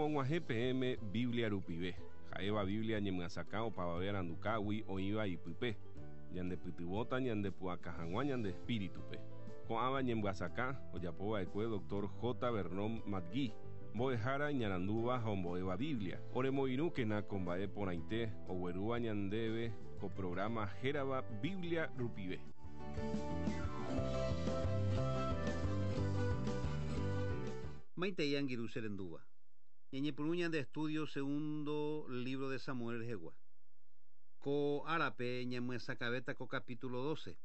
Romog̃uahẽ peẽme Biblia rupive, ha'éva Biblia ñemyasakã opavave arandukágui oĩva ipype, ñandepytyvõta ñandepu'aka hag̃ua ñande espíritupe. Ko'ãva ñemyasakã ojapova'ekue Doctor J. Vernon McGee, mbo'ehára iñarandúva ha ombo'éva Biblia. Oremoirũkena ko mba'e porãite oguerúva ñandéve ko programa hérava Biblia rupive. Maitei angirũ che rendúva. Ñañepyrũ ñande estudio segundo libro de Samuel rehegua. Ko árape ñamyesakãvéta ko capítulo 12.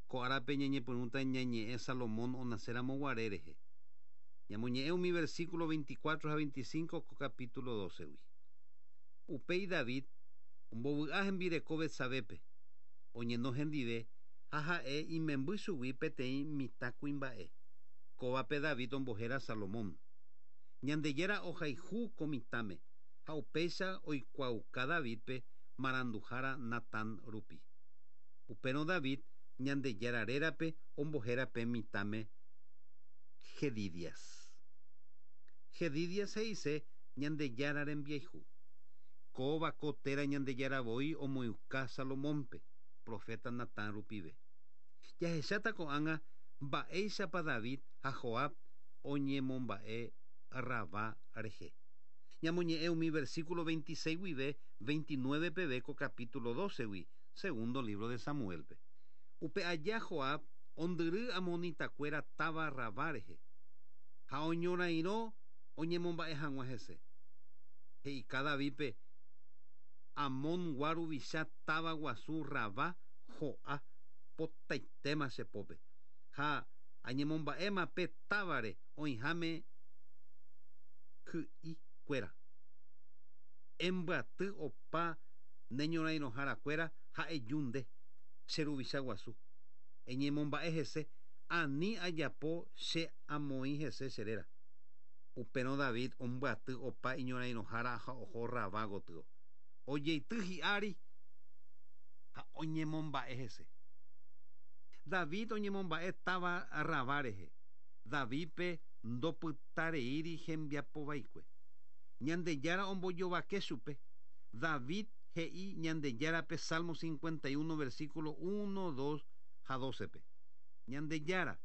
Ko árape ñañepyrũta ñañe'ẽ Salomón onacéramo guare rehe. Ñamoñe'ẽ umi versículo 24 ha 25 ko capítulo 12-gui. Upéi David ombovy'a hembireko Betsabépe, oñeno hendive ha ha'e imemby chugui peteĩ mitã kuimba'e. Kóvape David ombohéra Salomón. Ñandejára ohayhu ko mitãme ha upéicha oikuaauka Davídpe maranduhára Natán rupi. Upérõ David Ñandejára rérape ombohéra pe mitãme Jedidias. Jedidias he'ise Ñandejára rembiayhu. Kóva ko téra Ñandejára voi omoĩuka Salomónpe, profeta Natán rupive. Jahecháta ko'ág̃a mba'éichapa David ha Joab oñemomba'e Rabá rehe. Ñamoñe'ẽ umi versículo 26 guive 29 peve ko capítulo 12-gui, segundo libro de Samuel-pe. Upe aja Joab ondyry amonitakuéra táva Rabá rehe, ha oñorairõ oñemomba'e hag̃ua hese. He'ika Davídpe, Amongua ruvicha táva guasu Rabá ho'a potaitéma che pópe, ha añemomba'éma pe távare oĩháme ky'ikuéra. Embyaty opa ne ñorairõharakuéra ha eju nde, che ruvicha guasu. Eñemomba'e hese, ani ajapo che amoĩ hese che réra. Upérõ David ombyaty opa iñorairõhára ha oho Rabá gotyo. Ojeity hi'ári ha oñemomba'e hese. David oñemomba'e táva Rabá rehe. Davídpe ndopytareíri hembiapovaikue. Ñandejára ombojovake chupe. David he'i Ñandejárape Salmo 51 versículo 1, 2 ha 12-pe. Ñandejára,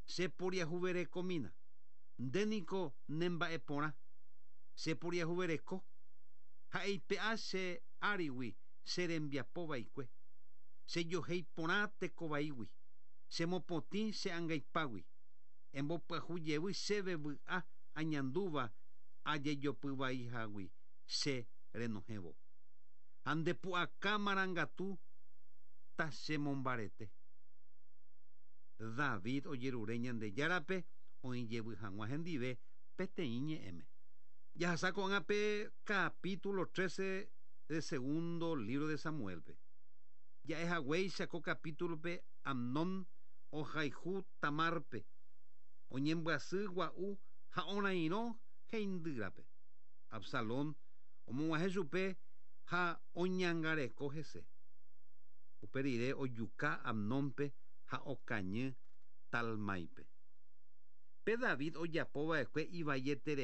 che poriahuverekomína. Nde niko nemba'eporã. Che poriahuvereko ha eipe'a che árigui che rembiapovaikue. Che johéi porã tekovaígui. Che mopotĩ che angaipágui. Embopyahu jevy chéve vy'a añandúva ajejopyvaihágui che renohẽvo. Ha nde pu'aka marangatu ta che mombarete. David ojerure Ñandejárape oĩ jevy hag̃ua hendive peteĩ ñe'ẽme. Jahasa ko'ág̃a pe capítulo 13 de segundo libro de Samuel-pe. Ja'ehaguéicha ko capítulo-pe Amnón ohayhu Tamárpe, oñembyasy gua'u ha orairõ heindýrape. Absalón omog̃uahẽ chupe ha oñangareko hese. Upe rire ojuka Amnónpe ha okañy Talmáipe. Pe David ojapova'ekue ivaieterei.